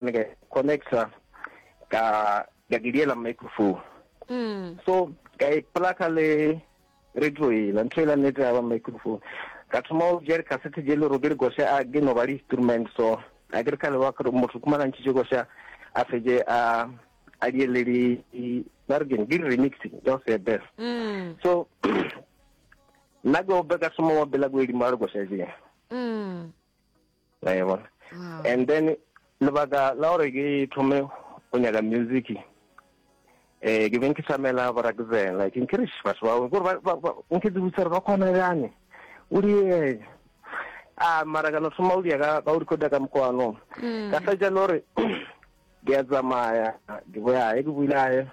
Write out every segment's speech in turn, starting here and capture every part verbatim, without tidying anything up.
Ka connecta ka ka ke diela microphone. Mm. So ka e plaka le radio ela, ntho ela nnete ya ba microphone. Ka thoma go tšea di-cassette tše le gore ke dikoša, a ke no ba di-instrument, so a ke re ka leba gore motho kumana ntšhitše koša a fetše a a diele di, ba re keng, ke di-remix tša go se. Mm. So nna ke ope ka thoma wa bela ko edimo a dikoša tše. Mm. La e bona. Wow. And then lebaka la gore ke thome go nyaka music, eh ke beng ke samela borakzen, like nkere batho ba gore ba ba nke tsebisa gore ba kgona bjane o di a, mara ka no thoma o dia ka ka o recorda ka mokgwa. Mm. Ka fetša le gore ke a tsamaya, ke boya ke buile ae,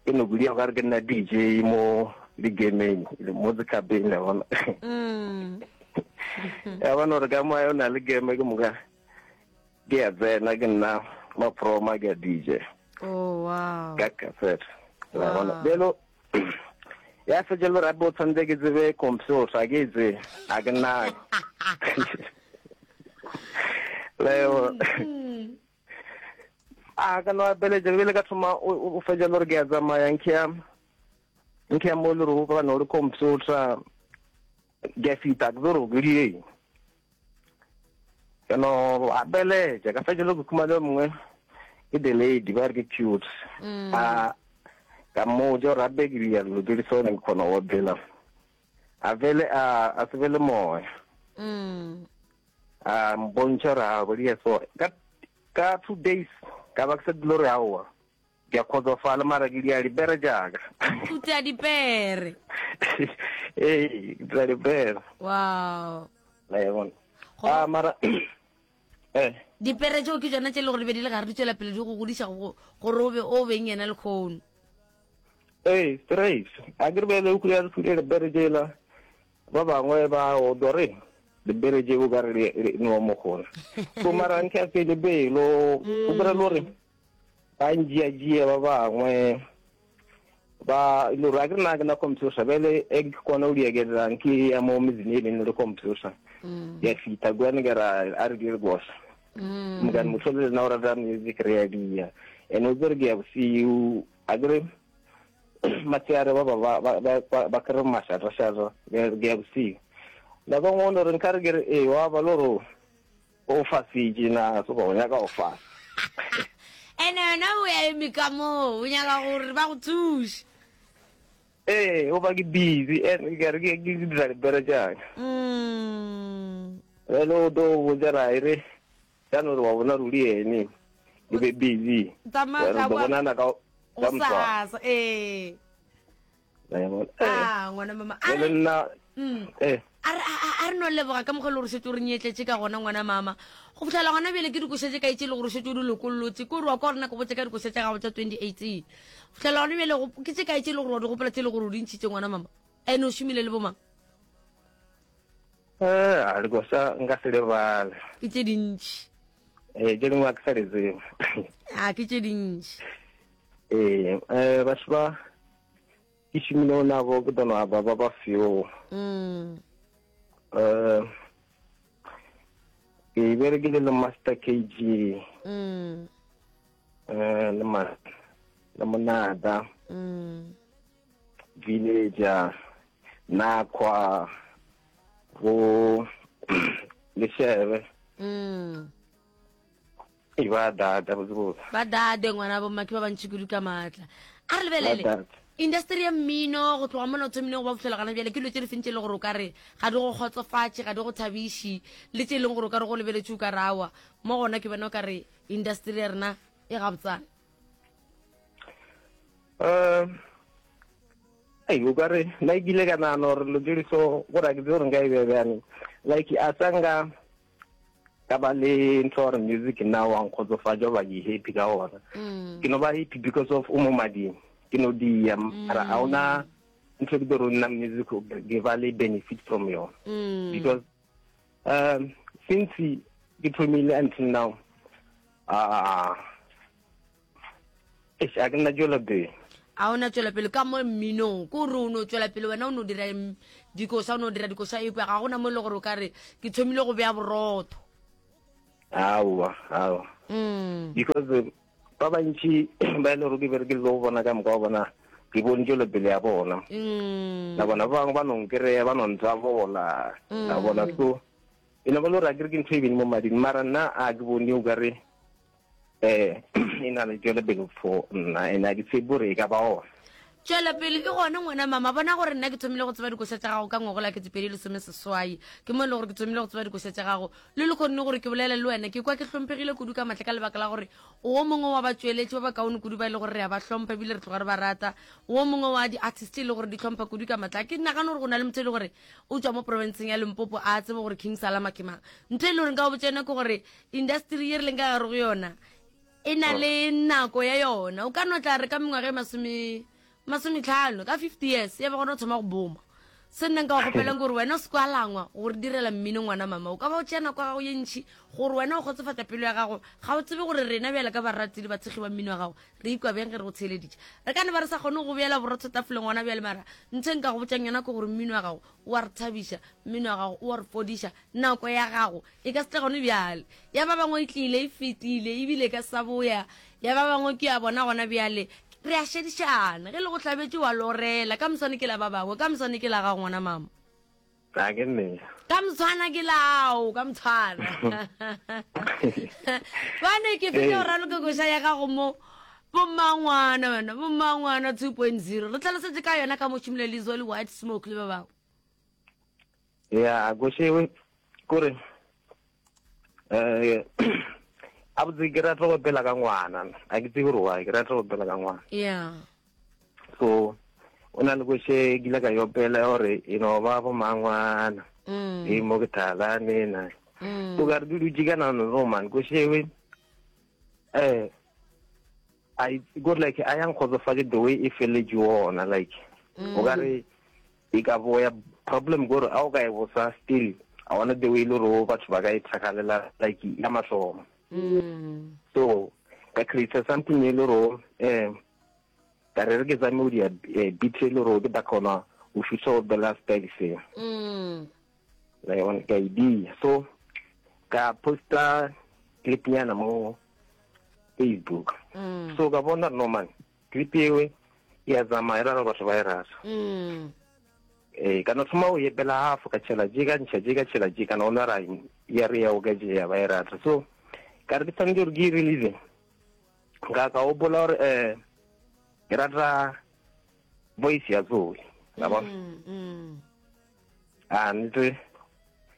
ke no bulia ka re ke nna D J mo di-gameng, mo di-clubeng, le bona. Mm. Ya bona gore ka mo o na le game, ke moka ke a tsena, ke nna maproma, ke a D J Oh wow. ka cassette, la bona. Wow. Bjalo ya fetša le gore gape o tshwanetse ke tsebe computer, a ke e tsebe, a ke nna leo. Mm. A ka no apeletša bile ka thoma o o fetša le gore ke a tsamaya, nke ya nke ya mo le gore go ba no le computer, ke a fita ke gore ke di eng, ka no apeletša ka fetša le go khumana yo mongwe, ke the lady ba re ke cute. Mm. A ka mmotša gore gape ke dia dilo tse di sone, ke kgona go opela, a fele a a se be le moya. Mm. A mpontšha gore a bo so ka ka two days ka ba ke sa dilo gore aowa, ke a kgotsofala, mara ke dia dipere jaaka. O tea dipere. Ee, ke dira dipere. Wow. La e bona. Go- A mara eh Dipere tseo ke tsona tse e le gore di be di le gare di tswela pele di go godiša go- gore o be o beng yena lekgono. Ee, straight a ke re bele o kry-a dipere tsela, ba bangwe ba o dore dipere tse o ka re no mogolo, so mara nke a fele pelo, o kry le gore ba njia-jia ba bangwe ba le gore a ke re nna ke na computer bele e ke kgona go diekelang, ke ya mo metseng e leng le computer, Mm. ya fita kwane ke ra a re dire kosa. Mm. Mokane motho le nna o rata music, re ya dia and o tsere ke ya bosiu, a kere matshehare ba ba ba ba ba ba kry mašata-šata, ke ya bosiu nako nngwe o no re nkare ke re ee wa ba le gore o fasitše na se go nyaka o fasa. Ene wena o ya eme ka moo o nyaka gore ba go thuše. Ee, o ba ke busy and ke re ke ke dira dipere tšaka. Mm. Bjale o tlo botsa ra e re jaanong re wa bona ruri ene ke be busy. Tsamaya re ka tlo boa- bonana ka ka moswane. Gosasa, ee. La e bona. A ngwana mama a Bjale re nna Mm. eh a re a- a- a re no leboga ka mokgwa e le gore setse o re nyetletše ka gona, ngwana mama. Go fitlhela gona bjale ke dikoša tše kae tše e le gore setse o di lokollotse? Ke gore wa kwa gore nako botse ka dikoša tša gago tša twenty eighteen, go fitlhela gona bjale go- ke tše kae tše e le gore wa di gopola, tše e le gore o di ntšhitše, ngwana mama, ene o šomile le bomang? Eh, a dikoša nka se lebale. Ke tše dintšhi. Eh, tše dingwe a ke sa di tsebe. A ke tše dintšhi. Ee, eh batho ba ke šomile nabo ke dono ba ba ba few. Mm. eh ke berekile le Master K G, Mm. eh le ma le Monada, Mm. Villager, Nakwa, go Leshebe. Mm. E ba data botse. Ba dade, ngwana bomma, ke ba bantši kudu ka maatla. A re lebelele Ba data. Industry ya mmino go tloga mona o thomileng go ba botlhela gana bjale, ke dilo tse di feng tse e le gore o ka re ga di go kgotsofatše, ga di go thabiše, le tse e leng gore o ka re go lebeletse o ka re awa mo gona ke bona o ka re industry ya rena e gabotsana? eh ei o ka re nna ke ile ka nagana gore lo tse di so gore a ke tsebe gore nka e beya bjane, like a sa nka ka ba le ntho gore music nna wa nkgotsofatša goba ke happy ka ona. Mm. Ke no ba happy because of o mo mading, ke no dia, mara ga ona ntho ke tlo nna music ke ba le benefit from yona, Mm. because um since ke thomile until now, ah, eish, a ke nna tswela pele. A ona tswela pele ka mo mminong, ke gore o no tswela pele wena o no dira mm, dikoša, o no dira dikoša, ekwe ga gona mo e le gore o ka re ke thomile go beya borotho. Aowa, aowa. Mm. Because eh, ba bantši ba e le gore ke berekile le go bona ka moka wa bona, ke bone tšwelopele ya bona. Mm. La bona ba bangwe ba no nkry-a, ba no ntsabola. La bona, so e no ba le gore akere ke ntho e beng mo mading, mara nna a ke bone o kare eh e na le tšwelopele for nna, and a ke tshepe gore e ka ba ona. Tšwelopele e gona, ngwana mama. Bona gore nna ke thomile go tseba dikoša tša gago ka ngwagola ketepedi lesome seswai. Ke mo e le gore ke thomile go tseba dikoša tša gago le le kgonne gore ke bolele le wena. Ke kwa ke hlomphegile kudu ka matla ka lebaka la gore o o mongwe wa batsweletši ba bakaone kudu ba e le gore re a ba hlompha ebile re tloga re ba rata. O o mongwe wa di-artist e le gore di hlompha kudu ka matla. Ke nagane gore go na le motho e le gore o tswa mo provinceng ya Limpopo a tsebe gore King Salama ke mang. Ntho e le gore nka go botsa yona ke gore industry ye re leng ka gare go yona e na le nako ya yona. O ka no tla re ka mengwaga e masome masometlhano, ka fifty years, ya ba gona o thoma go boma. Se nna nka go kgopelang gore wena o se kwa langwa gore direla mmino, ngwana mama. O ka ba o tšea nako ya gago ye ntšhi gore wena o kgotsofatsa pelo ya gago. Ga o tsebe gore rena bjale ka barati le batshegi ba mmino wa gago re ikwa bjang ge re go theeleditše. Re ka ne ba re sa kgone go beela borotho tafoleng gona bjale, mara ntho e nka go botsang yona ke gore mmino wa gago o a re thabiša, mmino wa gago o a re fodiša. Nako ya gago e ka se tle gone bjale, ya ba bangwe e tlile e fetile ebile e ka sa boya. Ya ba bangwe ke ya bona gona bjale. Re a šedišana ge le go hlabetše wa lorela. Ka moswane ke la ba bangwe, ka moswane ke la gago, ngwana mama. A ke nnete. Ka motshwana ke lao, ka motshwana bane ke fetša go raloka koša ya gago mo, Bommangwana. Wena Bommangwana two point zero, re tlhalosetse ka yona ka mošomile le Zoli White Smoke le ba bangwe. Ya, košewe kore eh a botse ke rata go opela ka ngwana. A ke tsebe gore why ke rata go opela ka ngwana. Ya so o na le koše ke ile ka e opela gore e no ba bomangwana Mm. e mo ke thalane na. Mm. O ka re ke dutše ka nano no man, košewe eh I go like a yang kgotsofatše the way e feletše ona, like o ka re e ka boya. Problem gore a o ka e bosa still a ona the way e le gore batho ba ka e thakalela like ya mathomo. Mm. So ka create something e le gore eh ka re re ke tsame o dia eh, beat e le gore ke tla kgona go thusa go bela style se. Mm. La yona ka idea, so ka posta clip nyana mo Facebook. Mm. So ka bona, no man, clip ewe ya tsamaya, e rara, batho ba e rata. Mm. Eh ka no thoma o epela half, ka tšhela je, ka ntšha je, ka tšhela je, ka no ona ra ya re ya o ka je ya ba e rata. So ka re ke tshwanetse gore ke e release. Ka ka gopola gore eh ke rata voice ya Zoe la bona. Mm. Mm. A ntse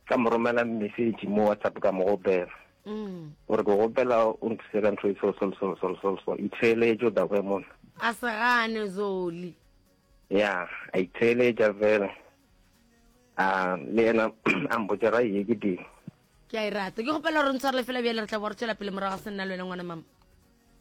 ka mo romela message mo WhatsApp, ka mo gopela Mm. gore ke gopela o nthuse ka ntho e so so so so so so, itheeletše o tla kwe mona. A se gane Zoli. Ya, a itheeletša fela, a le yena a mpotša ra ye ke teng. Ke a e rata. Ke gopela gore ntshwarele fela bjale, re tla bo re tswela pele morago ga se nna le wena, ngwana mama.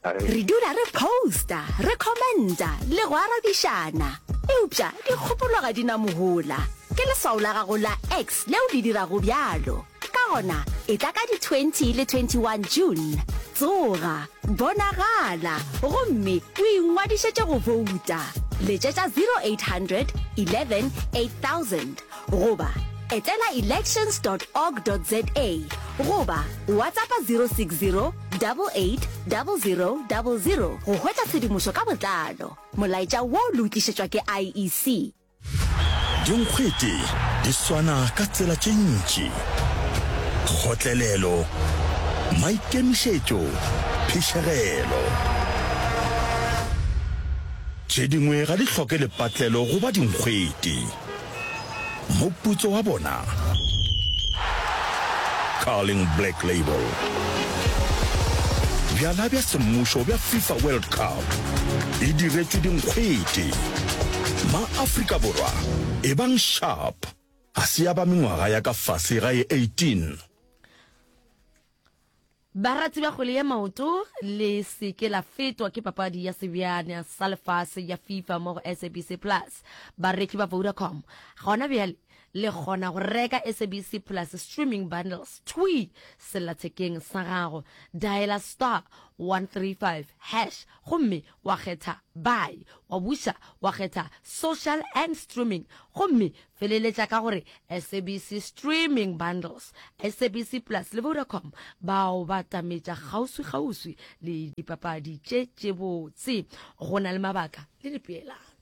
A re- Re dula re posta, re commenta le go arabišana, eupša dikgopolo ga di na mohola. Ke leswao la gago la X leo le dirago bjalo. Ka gona e tla ka di twenty le twenty-one June. Tsoga, bonagala gomme o ingwadišetše go bouta. Letšetša zero eight hundred eleven eight thousand goba etela elections dot org dot za goba WhatsAppa zero six zero eight eight zero zero zero go hwetša tshedimošo ka botlalo. Molaetša wo le o tlišetšwa ke I E C. Dinkgwete di swana ka tsela tše ntši: kgotlelelo, maikemišetšo, phišegelo. Tše dingwe ga di hloke lepatlelo goba dinkgwete. Moputso wa bona, Carling Black Label, bjala bja semmušo bja FIFA World Cup, e diretšwe dinkgwete. Ma-Afrika Borwa, e bang sharp. A se ya ba mengwaga ya ka fase ga e eighteen. Barati ba kgwele ya maoto, le seke la fetwa ke papadi ya sebjana sa lefase ya FIFA mo go S A B C Plus. Bareki ba Vodacom gona bjale Le kgona go reka S A B C Plus streaming bundles thwi sellathekeng sa gago. Diala star one three five hash gomme wa kgetha Buy, wa buša wa kgetha Social and Streaming gomme feleletša ka gore S A B C Streaming Bundles. S A B C Plus le Vodacom bao ba tametša kgauswi-kgauswi le dipapadi tše tše botse. Go na le mabaka le dipeelano.